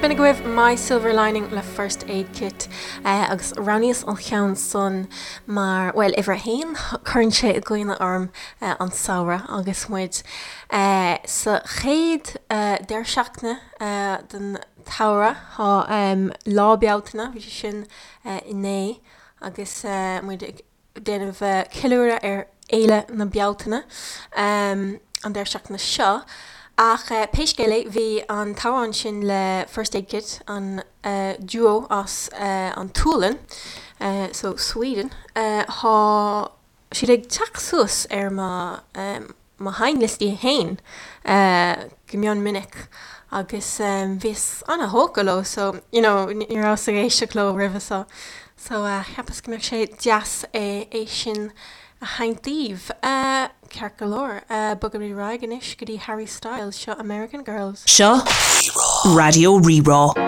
B'in agaibh My Silver Lining le First Aid Kit agus roghnaíos an cheann san mar, bhuel, uimhir a haon, cuireann sé i gcuimhne orm an samhradh agus muid sa chéad deireadh seachtaine den tsamhradh. Tá Lá Bealtaine, bhí sé sin inné agus muid ag déanamh ceiliúradh ar Fhéile na Bealtaine an deireadh seachtaine seo. Ach pé scéal é, bhí an t-amhrán sin le First Aid Kit, an duo as an tSualainn, so Sweden, thá siad ag teacht suas ar mo mo sheinnliostaí féin go mion minic agus bhíos ana-thógtha leo so you know ní rabhas ag éisteacht leo roimhe so so cheapas go mbeadh sé deas é sin a sheinnt daoibh. Ceart go leor, bogaimid ar aghaidh anois go dtí Harry Styles, seo American Girls. Seo Raidió Rí-Rá.